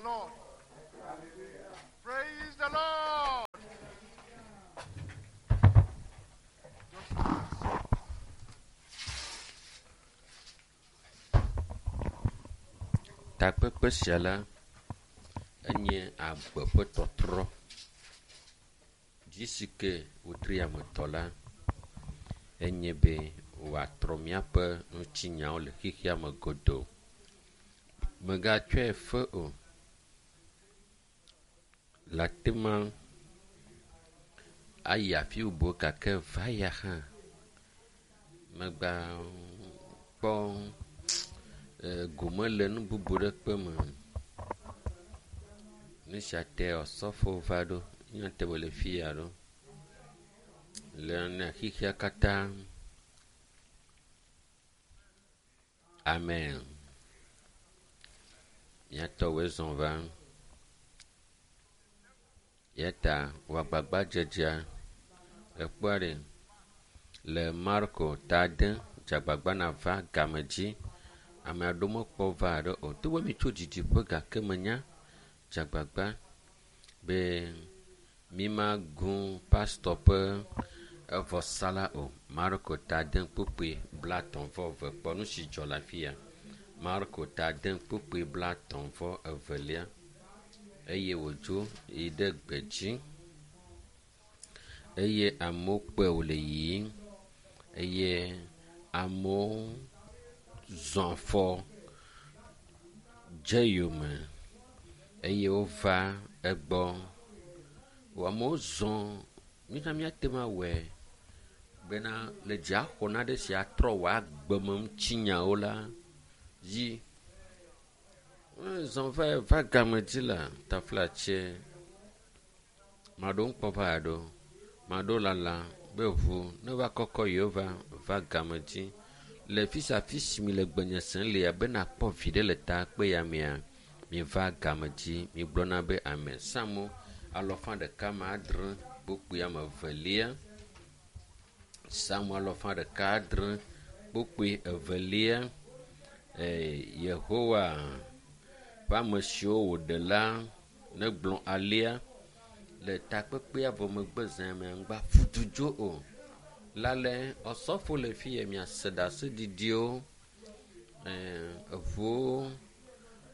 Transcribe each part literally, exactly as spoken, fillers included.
Lord. Praise the Lord. Just relax. Takpekpe sia la enye agbe ƒe tɔtrɔ. Dzi si ke wotri ametɔ la enye be wòatrɔ míaƒe ŋutinyawo le xexea me godoo. Mègatsɔe fe o. Le ate ma ayi afi bubu gake va ya hã megba kpɔ gome le nu bubu ɖe kpe me. Nu sia te osɔfo va ɖo nye te wòle fi ya ɖo. Le ne xexea katã. Amen. Míatɔwoe zɔ va. Ya ta wɔ agbagbadzedzea ekpɔa ɖe le Marko ta ade dze agbagba nava game dzi. Ame aɖewo mekpɔ va aɖe o. Togbɔ mi tso didiƒe gake menya dze agbagba be mi magu pastɔ ƒe evɔsala o. Marko ta ade kpukpui blatɔ̃ vɔ eve kpɔ nu si dzɔ le afi ya. Marko ta ade kpukpui blatɔ̃ vɔ evelia eye wòdzo yi ɖe gbedzi eye amewo kpɔe wòle yiyim eye amewo zɔ afɔ dze yome eye wova egbɔ. Amewo zɔ mítsã míate ŋu awɔe bena le dziaxɔ naɖe si atrɔ wò agbemeŋutinyawo la dzi. Zɔ va va game dzi la taflatse maɖewo ŋkpɔ va ɖo, maɖewo lala be ʋu ne va kɔkɔ yewo va va game dzi. Le fi sia fi si mi le gbenye sem lea be nakpɔ viɖe le takpe ya mea, miva game dzi migblɔna be ame Psalmo alɔfa ɖeka ame adre kpukpui ame evelia. Psalmo alɔfa ɖeka adre kpukpui evelia. Ee, Yehowa ƒe ame siwo wòɖe la negblɔ alea le takpekpea vɔ megbe zã mea ŋgba ƒu du dzo o. Lale osɔfo le fi ya miase ɖaseɖiɖiwo ɛɛ eʋuwo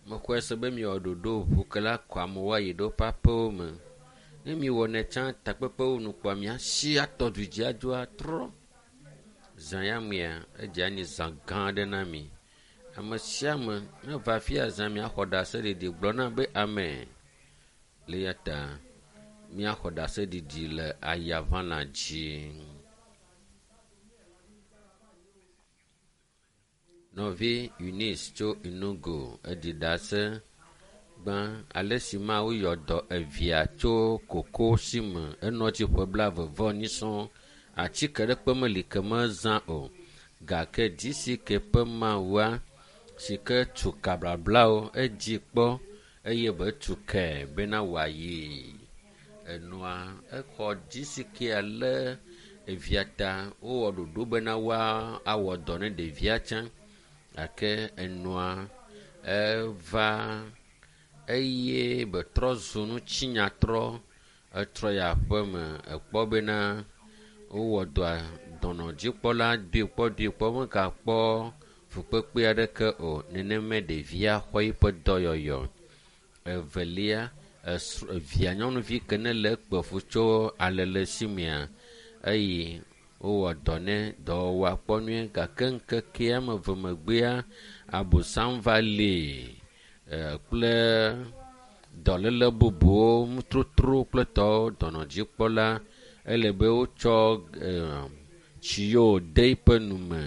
mexɔe se be miwɔ ɖoɖo ʋu ke la kɔ amewo ayi ɖe woƒe aƒewo me. Ne miwɔnɛ tsã takpekpewo nu kpɔa miasi atɔ du dzi adzo atrɔ. Zã ya mea edze anyi zã gã aɖe na mi. Ame sia ame ne va fi ya zã miaxɔ ɖaseɖiɖi gblɔ na be amen. Le ya ta míaxɔ ɖaseɖiɖi le ayaʋãla dzi. Nɔvi Eunice tso Enugu eɖi ɖase gbã ale si Mawu yɔ dɔ evia tso koko si me enɔ tsi ƒe blaeve vɔ enyi sɔŋ. Atike ɖekpe meli ke mezã o gake DCK ƒe Mawua si ke tu kablablawo edzi kpɔ eye be tu ke bena wòayi enua exɔ DCK lé evia ta wowɔ ɖoɖo bena woa awɔ dɔ ne ɖevia tsã gake enua eva eye betrɔ zu ŋutinyatrɔ etrɔ yi aƒeme ekpɔ bena wowɔ dɔa dɔnɔdzikpɔla doe kpɔ doe kpɔ megakpɔ fukpekpe aɖeke o. Nenemae ɖevia xɔ eƒe dɔyɔyɔ. Evelia esr evia nyɔnuvi ke ne le ekpe fu tso alele si mea eye wowɔ dɔ nɛ dɔwɔwɔa kpɔ nyuie gake ŋkekea ame eve megbea abosam va lée kple dɔléle bubuwo nutrotro kple tɔwo dɔnɔdzikpɔla ele be wotsɔ tsi yiwo de eƒe nume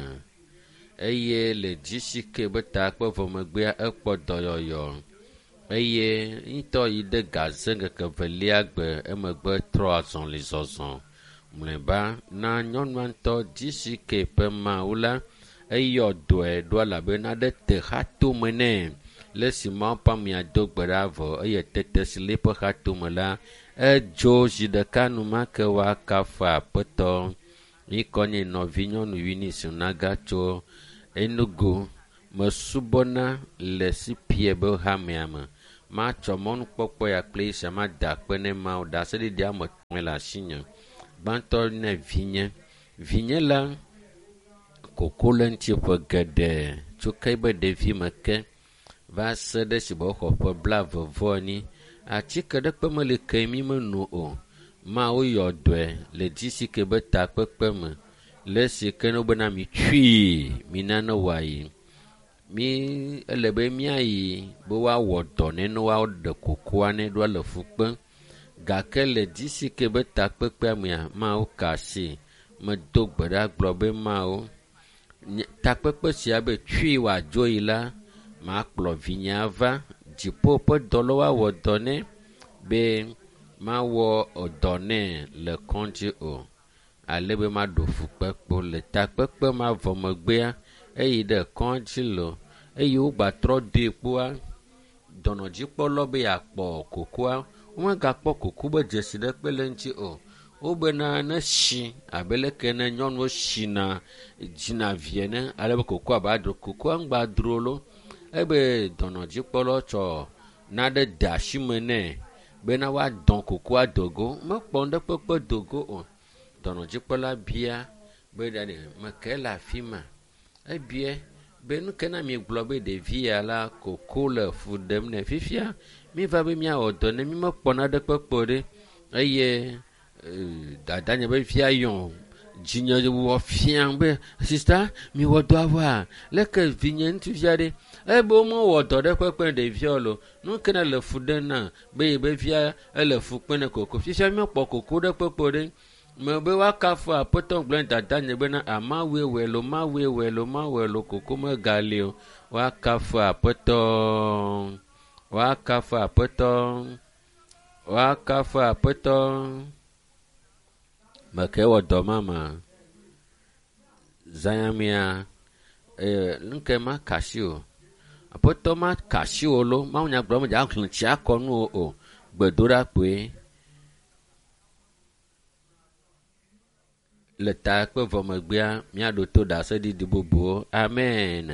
eye le DCK be takpe vɔ megbea ekpɔ dɔyɔyɔ eye ŋutɔ yi ɖe gaze ŋkeke evelia gbe emegbe trɔ azɔli zɔzɔ. Mlɔeba na nyɔnua ŋutɔ DCK ƒe Mawu la eyɔ dɔe ɖo elabena ɖe te xatome nɛ. Le esi Mawu ƒe amea do gbe ɖa vɔ eye tete si le eƒe xatome la edzo zi ɖeka enumake woakafu Aƒetɔ. Ŋkɔ nye nɔvinyɔnu Eunice Naga tso Enugu. Mesubɔna le CPA be hamea me. Matsɔ mɔnukpɔkpɔ ya kple esia mada akpe ne Mawu. Ɖaseɖiɖi ame etɔ̃e le asinye. Gbãtɔ ne vinye. Vinye la koko le ŋuti ƒe geɖe tso ke be ɖevime ke va se ɖe esime wòxɔ ƒe blaeve vɔ enyi. Atike ɖekpe meli ke mi meno o. Mawu yɔ dɔe le D C K be takpekpe me le esi ke ne wobena mitsui mina ne wòayi. Mi ele be míayi be woawɔ dɔ nɛ ne woaɖe kokoa nɛ ɖoa le fu kpem. Gake le D C K be takpekpea mea, Mawu ka asi. Medo gbe ɖa gblɔ be Mawu, nye takpekpe sia be tsui wòadzo yi la, makplɔ vinyea va dziƒo ƒe dɔlawo awɔ dɔ nɛ be mawɔ dɔ nɛ le kɔdzi o. Ale be maɖo fukpekpe le takpekpe ma vɔ megbea, eyi ɖe kɔdzi lo eye wogbatrɔ doe kpoa, dɔnɔdzikpɔlawo be yeakpɔ kokoa, womegakpɔ koko be dzesi ɖekpe le eŋuti o. Wobena ne shi abe leke ne nyɔnuwo shina dzina vi ene ale be kokoa ba dro. Kokoa ŋgba dro lo. Ebe dɔnɔdzikpɔlawo tsɔ naɖe de asi me nɛ bena woadɔn kokoa do go. Mekpɔ nuɖekpekpe do go o. Dɔnɔdzikpɔla bia be ɖe meke le afi ma. Ebia be nu ke na mi gblɔ be ɖevi ya la koko le fu ɖem nɛ fifia. Mi va be míawɔ dɔ ne mi mekpɔ naɖekpekpe o ɖe eye dadanye be via yɔ dzinye wɔ fiam be sista mi wɔ dɔa vɔa leke vinye ŋutsuvia ɖe ebe womewɔ dɔ ɖe kpekpe ne ɖeviawo lo nu ke ne le fu ɖem na be yi be via ele fu kpem ne koko fifia míekpɔ koko ɖe kpekpe ɖe me be woakafu aƒetɔ gblɔ ne dadanye bena amawue wɔe lo mawue wɔe lo mawue lo koko megali o woakafu aƒetɔ woakafu aƒetɔ woakafu aƒetɔ meke wɔ dɔ mama zanyamia ee nuke ma kasi o aƒetɔ ma kasi o lo mawu nya gblɔ me dza xlẽ tsi akɔ nu o o gbedoɖa kpoe le ta kpe vɔ megbea míaɖo to ɖaseɖiɖi bubuwo amen.